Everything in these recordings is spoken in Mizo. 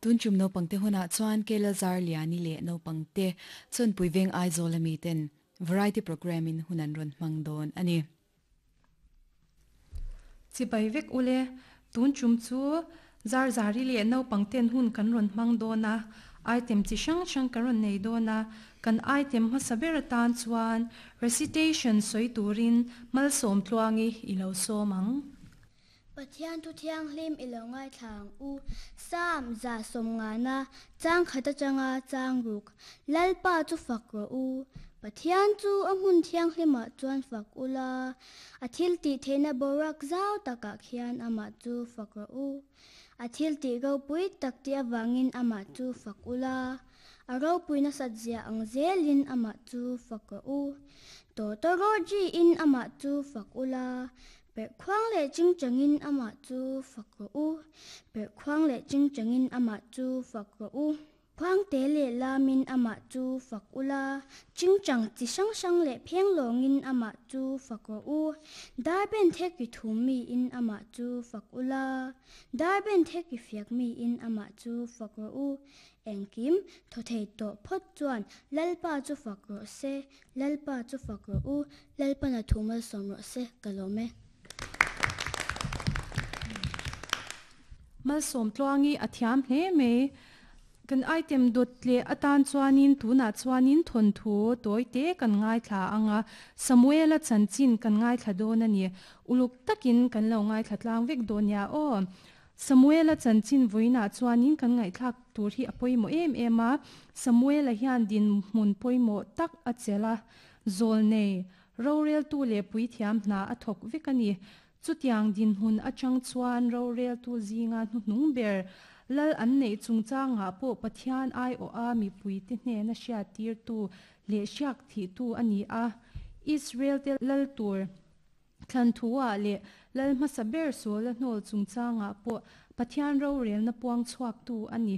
Tun tum naupangte hunah chuan Kela Zarliani leh naupangte Chawnpui Veng Aizawl ami ten Variety Programme in hun an rawn hmang dawn a ni. Chibai vek ule, tun tum chu Zarzari leh naupang ten hun kan rawn hmang dawn a, item chi hrang hrang kan rawn nei dawn a, kan item hmasa ber atan chuan recitation sawi turin Malsawm Tluangi i lo sawm ang. Pathian thu thianghlim i lo ngaithla ang u. Psalm 150, chang khat atanga chang ruk, Lalpa chu fak rawh u. Pathian chu a hmun thianghlimah chuan fak ula, a thil tih theihna boruak zau takah khian amah chu fak rawh u. A thil tih ropui tak tih avangin amah chu fak ula, a ropui nasat zia ang zelin amah chu fak rawh u. Tawtawrawṭiin amah chu fak ula, Perhkhuang leh chingchangin amah chu fak rawh u. Perhkhuang leh chingchangin amah chu fak rawh u. Khuangte leh lamin amah chu fak ula, chingchang chi hrang hrang leh phenglawngin amah chu fak rawh u. Darben thek ri thum miin amah chu fak ula, darben thek ri fiak miin amah chu fak rawh u. Engkim thaw thei tawh phawt chuan Lalpa chu fak rawh se, Lalpa chu fak rawh u, Lalpana thu malsawm rawh se, ka lawm e. Malsawm tluangi a thiam hle mai. Kan item dawt leh atan chuanin tunah chuanin thawnthu tawi te kan ngaithla ang a, Samuela chanchin kan ngaithla dawn a ni. Uluk takin kan lo ngaithla tlang vek dawn nia aw. Samuela chanchin vawiinah chuanin kan ngaihthlak tur hi a pawimawh em em a, Samuela hian dinhmun pawimawh tak a chelh a, zawlnei, roreltu leh puithiam hna a thawk vek a ni. Chutiang dinhmun atang chuan roreltu zinga hnuhnung ber lal an neih chungchangah pawh Pathian aiawha mipuite hnena hriattirtu leh hriak thihtu a ni a, Israel-te lal tur Thlan thu-ah leh Lal hmasa ber Saul-a hnawl chungchangah pawh Pathian rorelna puang chhuaktu a ni.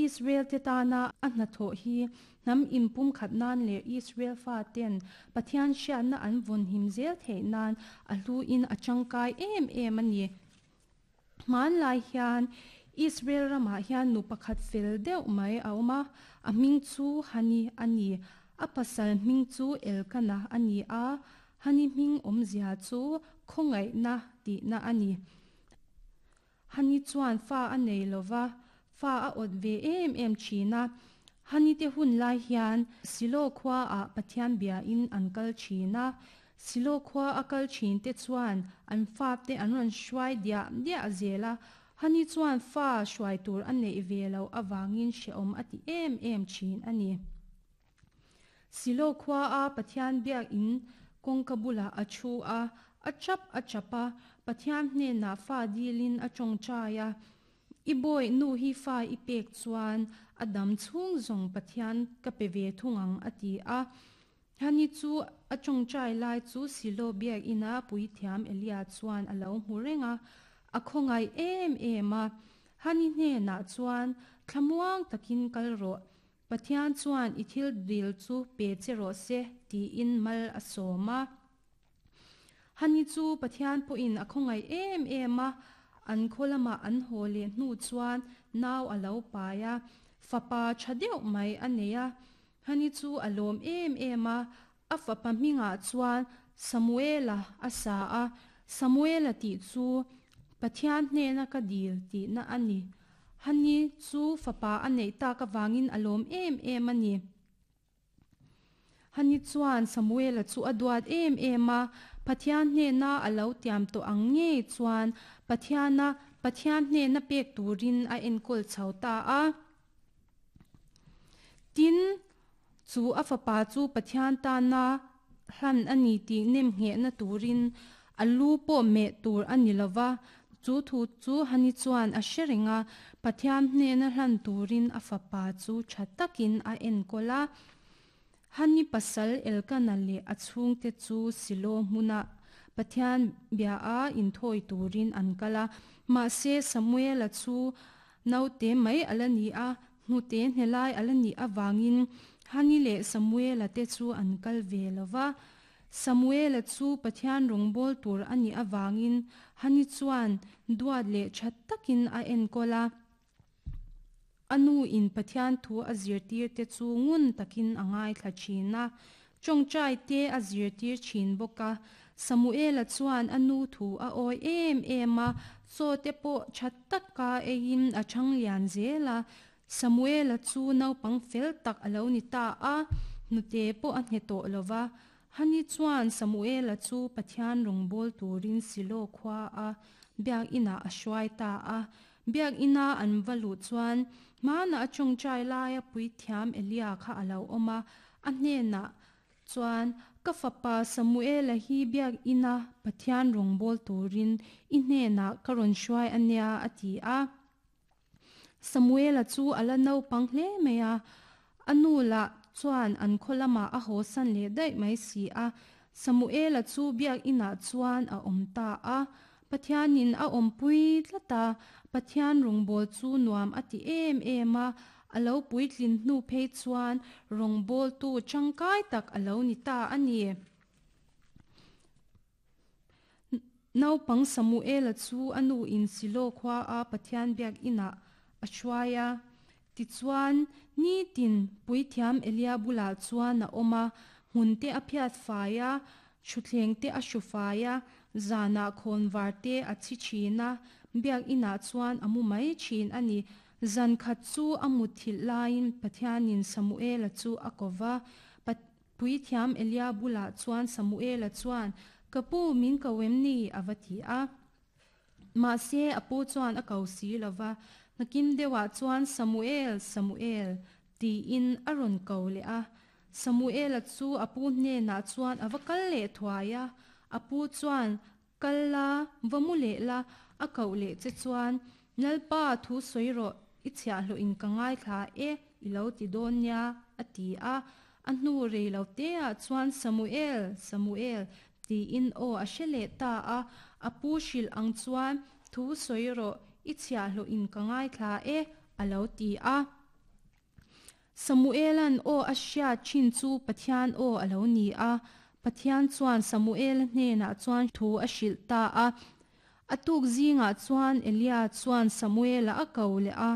Israel-te tana a hnathawh hi hnam inpumkhat nan leh Israel faten Pathian hriatna an vawnhim zel theih nan a hluin a tangkai em em a ni. Hmanlai hian Israel ramah hian nu pakhat fel deuh mai a awm a, a hming chu Hani a ni. A pasal hming chu Elkana a ni a, Hani hming awmzia chu khawngaihna tihna a ni. Hani chuan fa a nei lo va, fa a awt ve em em thin a. Hani te hun lai hian Silo khuaah Pathian biain an kal thin a, Silo khua a kal thin te chuan an fap te an rawn hruai diah diah zel a, Hani chuan fa hruai tur a neih ve loh avangin hrehawm a ti em em thin a ni. Silo khua a Pathian biakin kawngka bulah a thu a, a chap a chap a, Pathian hnenah fa dilin a tawngtai a, I bawi nu hi fa i pek chuan a dam chhung zawng Pathian ka pe ve thung ang a ti a. Hani chu a tawngtai lai chu Silo biakina puithiam Elia chuan a lo hmu reng a, a khawngaih em em a. Hani hnenah chuan, Thlamuang takin kal rawh, Pathian chuan i thil dil chu pe che rawh se, tiin mal a sawm a. Hani chu Pathian pawhin a khawngaih em em a, an khaw lamah an haw leh hnu chuan nau a lo pai a, fapa tha deuh mai a nei a. Hani chu a lawm em em a, a fapa hmingah chuan Samuela a sa a, Samuela tih chu Pathian hnena ka dil tihna a ni. Hani chu fapa a neih tak avangin a lawm em em a ni. Hani chuan Samuela chu a duat em em a, Pathian hnena a lo tiam tawh ang ngei chuan Pathiana Pathian hnena pek turin a enkawl chho ta a. Tin, chu a fapa chu Pathian tana hlan a ni tih nemnghehna turin a lu pawh meh tur a ni lo va, chu thu chu Hani chuan a hre reng a, Pathian hnena hlan turin a fapa chu tha takin a enkawl a. Hani pasal Elkana leh a chhungte chu Silo hmuna Pathian bia a inthawi turin an kal a, mahse Samuela chu Naute mai a la ni a, hnute hnelai a la nih avangin Hani leh Samuela te chu an kal ve lo va. Samuela chu Pathian rawngbâwl tur a nih avangin Hani chuan duat leh ṭha takin a enkawl a. A nu in Pathian thu a zirtir te chu ngun takin a ngaithla thin a. Tawngtai te a zirtir thin bawk a. Samuela chuan a nu thu a awih em em a, chaw te pawh tha taka eiin a thang lian zel a. Samuela chu naupang fel tak a lo ni ta a, hnute pawh a hne tawh lo va. Hani chuan Samuela chu Pathian rawngbawl turin Silo khua a Biak inah a hruai ta a. Biak ina an va luh chuan hmana a tawngtai laia puithiam Elia kha a lo awm a, a hnenah chuan, Ka fapa Samuela hi Biak ina Pathian rawngbawl turin i hnenah ka rawn hruai a nia, a ti a. Samuela chu a la naupang hle mai a, a nu lah chuan an khaw lamah a hawsan leh daih mai si a. Samuela chu biakinah chuan a awm ta a, Pathianin a awmpui tlat a, Pathian rawngbâwl chu nuam a ti em em a, a lo puitlin hnu phei chuan rawngbâwltu ṭangkai tak a lo ni ta a ni. Naupang Samuela chu a nuin Silo khuaa Pathian biakinah a hruai a. Tichuan, nitin puithiam Elia bulah chuan a awm a, hmunte a phiat fai a, thutthlengte a hru fai a, zanah khawnvar te a chhi thin a, biakinah chuan a mu mai thin a ni. Zan khat chu a mutthilh laiin Pathianin Samuela chu a ko va. Puithiam Elia bulah chuan Samuela chuan, Ka pu, min ko em ni? a va ti a. Mahse, a pu chuan a ko si lo va. Nakin deuhah chuan, Samuel, Samuel, tiin a rawn ko leh a. Samuela chu a pu hnenah chuan a va kal leh thuai a. A pu chuan, Kal la, va mu leh la, a koh leh che chuan, Lalpa, thu sawi rawh, i chhiahhlawh in ka ngaithla e, i lo ti dawn nia, a ti a. A hnu rei lo teah chuan Samuel, Samuel, tiin aw a hre leh ta a. A pu hrilh ang chuan, Thu sawi rawh, i chhiahhlawh in ka ngaithla e, a lo ti a. Samuela'n aw a hriat thin chu Pathian aw a lo ni a. Pathian chuan Samuela hnenah chuan thu a hrilh ta a. A tuk zingah chuan Elia chuan Samuela a ko leh a,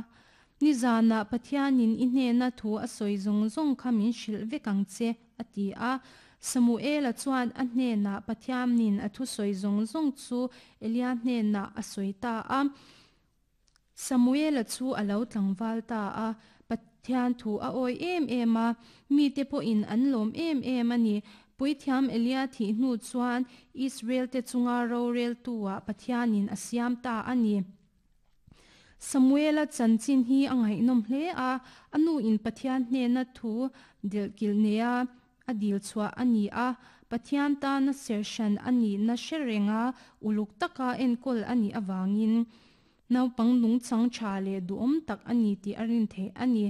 Nizanah Pathianin i hnena thu a sawi zawng zawng kha min hrilh vek ang che, a ti a. Samuela chuan a hnenah Pathianin a thusawi zawng zawng chu Elia hnenah a sawi ta a. Samuela chu a lo tlangval ta a, Pathian thu a awi em em a, mite pawhin an lawm em em a ni. Puithiam Elia thih hnu chuan Israelte chunga roreltu-ah Pathianin a siam ta a ni. Samuela chanchin hi a ngaihnawm hle a, a nuin Pathian hnena thu delhkilh neia A dil chhuah a ni a, Pathian tana serhran a nihna hre renga uluk taka enkawl a nih avangin naupang nungchang tha leh duhawm tak a ni tih a rin theih a ni.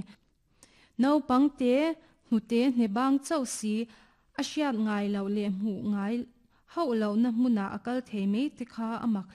Naupang te hnute hnebang chauh si a hriat ngai loh leh hmuh ngai hauh lohna hmunah a kal thei mai te kha a mak hle.